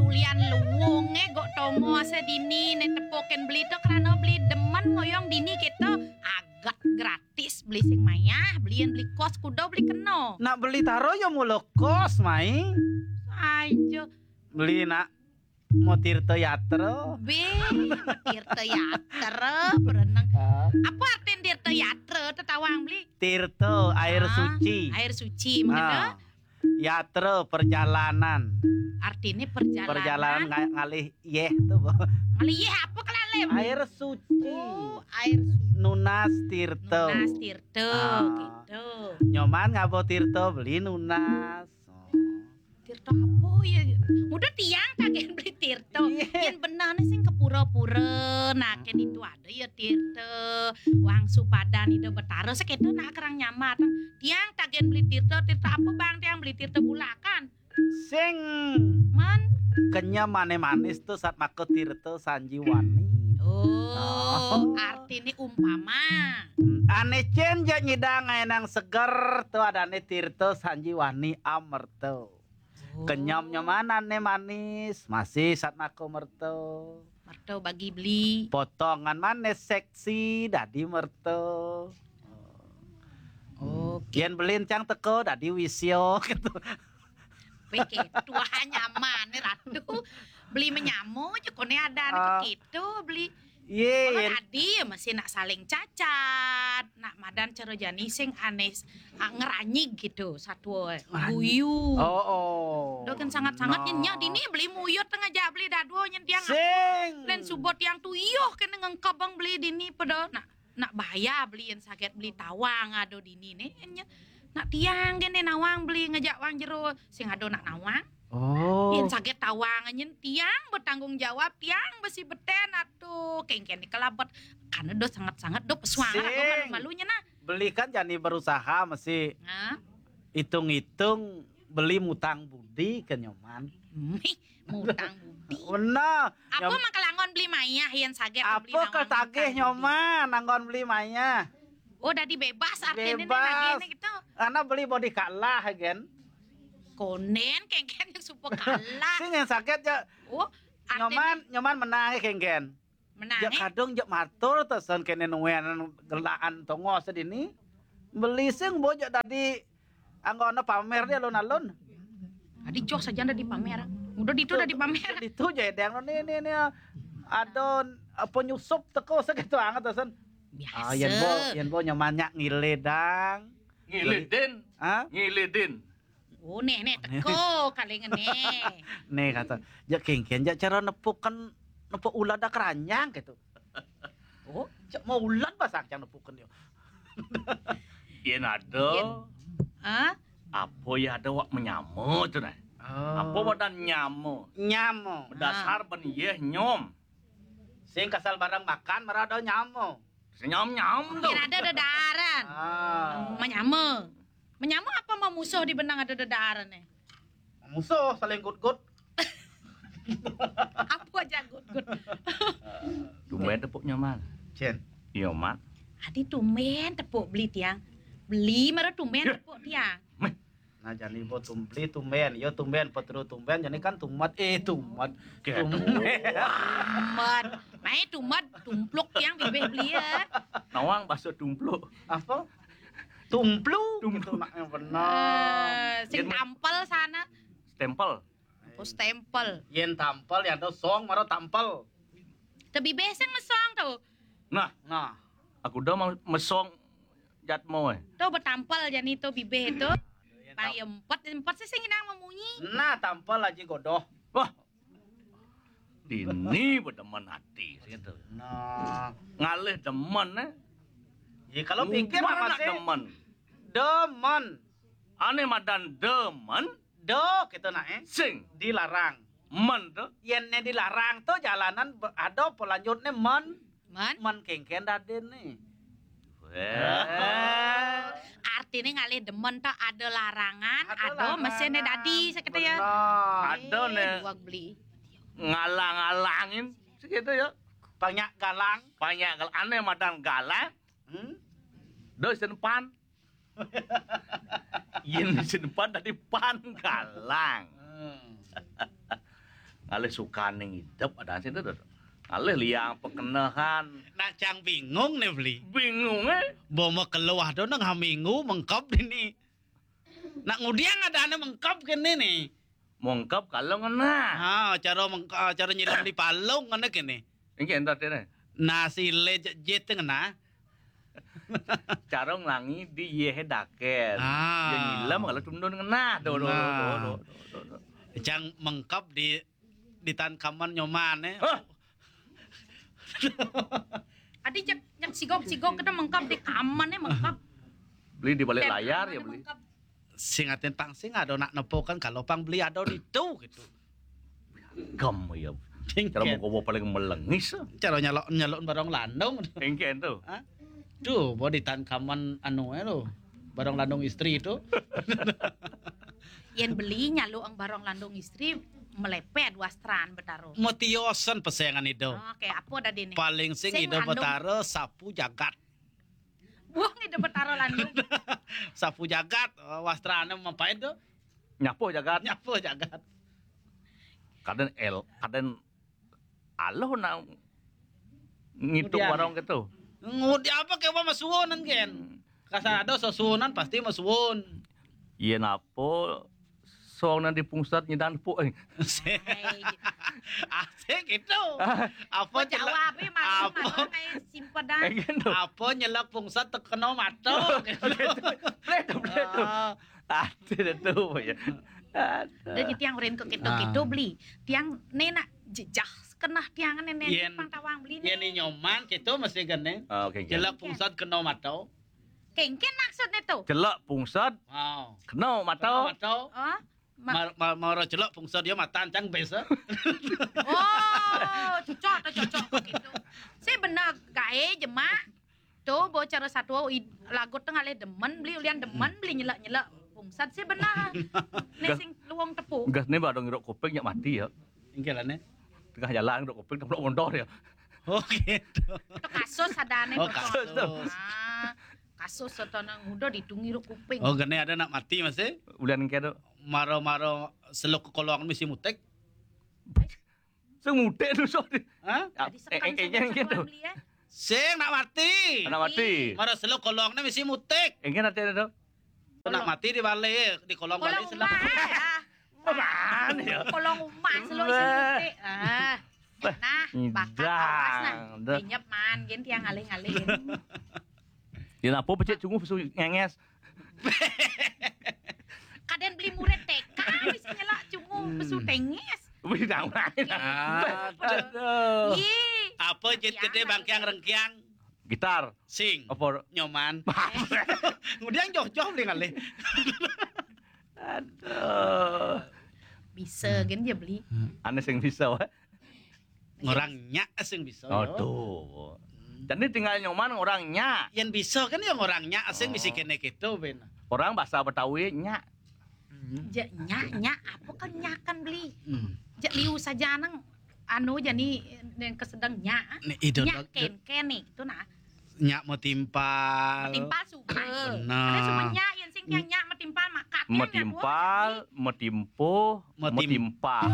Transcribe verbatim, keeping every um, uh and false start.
Ulian luunge gok tongo ase dini ne tepukin beli to, krana beli demen ngoyong dini kito. Aget gratis, beli sing mayah, belian beli kos kudo beli keno. Nak beli taro yo mulo kos, Mai. Aja. Beli nak mau tirta yatra. Be, mau tirta yatra, berenang. Ah. Apa artin tirta yatra, tetawang beli? Tirta, air Ah, suci. Air suci, mengena? Ah. Yatra, perjalanan. Artinya perjalanan. Perjalanan nga-, ngalih yeh tu, Bo. Ngalih yeh apa kelalem? Air suci. Oh, air suci. Nunas tirta. Nunas tirta, Ah. Gitu. Nyoman ngaba tirta beli nunas. Oh. Tirta apa ya? Udah tiang kagen beli tirta. Iya. Yen benehne sing ke pura-pura, nah, ken itu ada ya tirta. Wang supadan Ida Betara seketo nak kerang nyamat. Tiang kagen beli tirta, tirta apa bang tiang beli tirta bulakan? Sing Men. Kenyem ane manis tu sat maka tirta sanjiwani. Oh, Oh. Artine umpama. Ane cen ja nyidang ae nang seger tu adane tirta sanjiwani amerta. Oh. Kenyem nyoman ane manis, masih sat maka merta. Merta bagi beli. Potongan manis seksi dadi merta. Oke. Yen beli encang teko dadi wisya gitu. Peke tuah nyaman ratu. Beli menyamo aja kone ada Ah. Begitu beli. Ye, Malah yen tadi ya masih nak saling cacat, nak madan cara jani sing ane, ah, ngeranyig gitu, satwa Ngeranyig. Guyu. Oh, oh. Dah kan sangat-sangat Nah. Nyen nyak dini beli muyut tengah jak beli dadua nyen tiang. Sing. Len subot tiang tu iyoh kena ngengkebang beli dini pada nak, nak bahaya beli yang sakit beli tawang ado dini ne. Nya, nak tiang kene nawang beli ngejak wang jero sing ado nak nawang. Oh. Yen saget tawang nyen tiang bertanggung jawab, tiang besi beten atuh. Kengken ni kelabet. Karena do sangat-sangat do pesuang Sing. Malu-malunya nah. Beli kan jani berusaha mesti Nah. Hitung-hitung beli mutang budi ke nyoman. Mih, mutang budi. Benar. Apa Nyom- maka langon beli mayah yen saget beli Apa nawang ketagih mutang budi? Nyoman, anggon beli mayah. Oh, dadi bebas artinya Bebas. Nih, gitu. Karena beli body kalah, gen. Konen, kengken yang supo kalah. Sing yang sakit ya. Oh, artinya Nyoman, nyoman menang ya, kengken. Menang, Ya eh? Kadung jak matur to sen kene nuwen gelaan tongo sedini. Beli sing bo jak tadi anggona pamer dia alun-alun. Tadi joh saja dah dipamer. Udah ditu dah dipamer. Ditu je deng ni ni ni. Ada apa nyusup teko segitu anget to sen. Biasa. Ah, yen bo, yen bo nyaman nyak ngile dang. Ngile din. Ha? Ngile din. Oh, neh, neh, teko kali ngene. Neh kata, jak kengken, jak cara nepukan, nepuk ulat dak keranjang gitu. Oh, jak mau ulat basang cang nepukan yo. Yen ada. Yen. Hah? Apa ya ada wak menyama tu nah? Oh. Apa badan nyama? Nyama. Berdasar Ah. Ben yeh nyom. Sing kasal barang makan marada nyama. Senyam-nyam tu. Yen ada dedaran. Ah. Menyama. Menyama apa memusuh di benang ada dedaran eh? Memusuh saling gut-gut. Apa aja gut-gut? Tumben tepuk nyaman. Cen. Iya, Mat. Adi tumben tepuk beli tiang. Beli mara tumben Ya. Tepuk tiang. Meh. Nah, jani bo tumpli tumben, yo tumben, petru tumben, jani kan tumat, eh, tumat. Kayak Tumben. Tumat. Mai tumat, tumpluk yang bibih beli ya. Nawang bahasa tumpluk. Apa? Tumplu, Tumplu. Gitu nak yang benar. Eh, sing Yen- tampel sana. Stempel. Apa stempel? Yen tampel, ya ada song, mara tampel. Tebibih sing mesong tu. Nah, Nah, aku dah mau mesong jatmo eh. Tu betampel jani tu bibih tu. Pai empat, empat sih sing nang memunyi. Nah, tampel aja godoh. Wah. Dini bedemen hati gitu. Nah, Ngalih demen eh. Ya kalau pikir Mana masih demen? Demen. Ane madan demen. Do kita nak eh. Sing. Dilarang. Men tu. Yen ne dilarang tu jalanan be- ada pelanjutnya men. Men? Men kengken dadin ni. Weh. Artinya ngalih demen tu ada larangan, Ada ada larangan. Mesin dadi sakit ya. Benar. Ada Eh, ne. Buat beli. Ngalang-alangin segitu ya. Banyak galang. Banyak galang. Ane madan galang. Hmm? Do sen pan. Yen sen pan tadi pan galang. Hmm. Ngalih sukaning idep ada sih tu. Ngalih liang pekenehan. Nak cang bingung nih beli. Bingung eh. Bo makeluh tu nang haminggu mengkep dini. Nak ngudiang ada ane mengkep kene nih. Mengkep kalau ngena. Ha, cara mengkep, cara nyilam di palung ngene kene. Engke entar tene. Nasi le jet ngena. Cara nglangi di ye daket. Ah. Ye nyilam kalau tundun ngena. Do do do do do. Cang mengkep di di tan kaman nyoman eh. Hah? Adi jak jak sigok-sigok kita mengkap di kaman eh mengkap. Beli di balik layar ya beli. Sing atin pang sing ada nak nepo kan kalau pang beli ada di tu gitu. Gem ya. Cara mau kobo paling melengis. Cara nyalok nyalok barang landung. Engken tu. Hah? Tuh, bo di tan kaman anu eh lo. Barang landung istri itu. Yen beli nyaluk ang barong landung istri melepet wastran betaro. Metiosen pesengan ido. Oke, apa dadi ni? Paling sing ido betaro sapu jagat. Buang ido betaro landung. Sapu jagat, eh, wastrane mempait tu. Nyapu jagat. Nyapu jagat. Kaden el, kaden aloh nak ngitung warong gitu. Ngudi apa ke apa masuwun kan? Kasar ada susunan pasti masuwun. Iya napo song nan di pungsat nyidan puk. Asik itu. Apa jawab eh malu malu kayak simpedan. Apa nyelak pungsat tekeno mato. Betul betul. Ati itu ya. Ada tiang urin ke keto-keto beli. Tiang nenak jejah kenah tiang nenek pang tawang beli. Yen nyoman keto mesti gene. Jelek pungsat keno mato. Kengken maksudnya tu. Jelek pungsat. Keno mato. Mato. Oh. Mar mar mara jelek pungsat dia matan cang bes. Oh, cocok tu cocok kok gitu. Saya benar gae jemak. Tu bo cara satu lagu tengah le demen beli ulian demen beli nyelak-nyelak pungsat sih benar. Nih sing luang tepuk. Gas ni badong iruk kuping nyak mati ya. Ingkilan eh. Tengah jalan iruk kuping keplok mondor ya. Oh gitu. Tu kasus ada nih. Oh kasus. Ah, kasus atau nang udah ditungi iruk kuping. Oh gene ada nak mati masih. Ulian engke tu. Maro-maro seluk ke kolong misi mutek. Sing mudik tu sok. Hah? Engke gitu. Sing nak mati. Nak mati. Mara seluk kolongne misi mutik. Engke ate tu. Nak mati di bale, di kolong bale seluk. Kolong umah ya. Kolong umah seluk isi mutik. Ah. Nah, bakat awas nah. Dinyep man gin tiang ngalih-ngalih. Dia napa becik cunguh pesu ngenges. Kaden beli murid T K wis nyelak cunguh pesu tenges. Wis tahu. Aduh. Apa jet gede bangkiang rengkiang? Gitar. Sing. Apa? Nyoman. Kemudian joh-joh beli ngalih. Aduh. Bisa kan dia beli. Ane sing bisa wae. Ngorang nyak sing bisa. Aduh. Jadi tinggal nyoman ngorang nyak. Yang bisa kan yang ngorang nyak sing bisa kene gitu ben. Orang bahasa Betawi nyak. Jak nyak nyak apa kan nyakan beli. Jak liu saja nang anu jani yang kesedang nyak. Nyak ken ken nih itu nah. Nyak metimpal. Metimpal suka. Ada semua nyak yang sing yang nyak metimpal makat. Metimpal, metimpuh, metimpal.